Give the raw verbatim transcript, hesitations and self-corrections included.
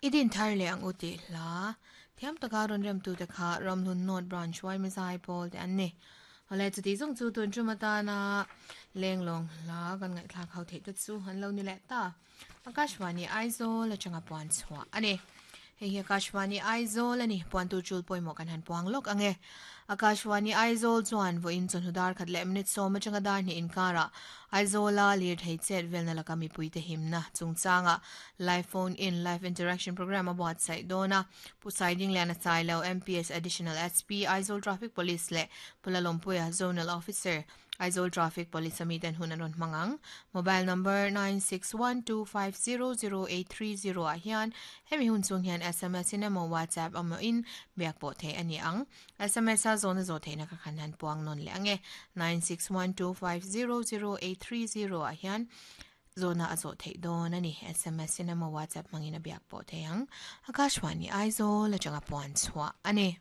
I din thar leh ang u tih hla thiam taka rawn rem tute kha Ramhlun North Branch Y M A Zaipawl te an ni. Awle, chuti zawng chu tun tum atana lenglawng hla kan ngaihthlak ho theih te chu an lo ni leh ta. Akashvani Aizawl atanga puan chhuah ani. Hei hi Akashvani Aizawl ani. Puan tur chul pawimawh kan han puang lawk ange. Akashvani Aizawl chuan vawiin chawhnu dar khat leh minute sawm atanga dar hnih inkara Aizawla lir thei chet velna laka mipui te himna chungchanga live phone in live interaction program a buatsaih dawna. Pu Saidingliana Sailo, M P S Additional S P, Aizawl Traffic Police leh Pulalawmpuia, Zonal Officer, Aizawl Traffic Police ami ten hun an rawn hmangang. Mobile number nine six one two five zero zero eight three zero ah hian hemi hun chung hian S M S in emaw WhatsApp emaw in biak pawh thei ani ang. S M S a zawna zawh theihna ka khan han puang nawn leh ange. nine six one two five zero zero eight three zero ah hian zawna a zawh theih dawn ani. S M S in emaw WhatsApp hmangin a biak pawh thei ang. Akashvani Aizawl atanga puan chhuah ani.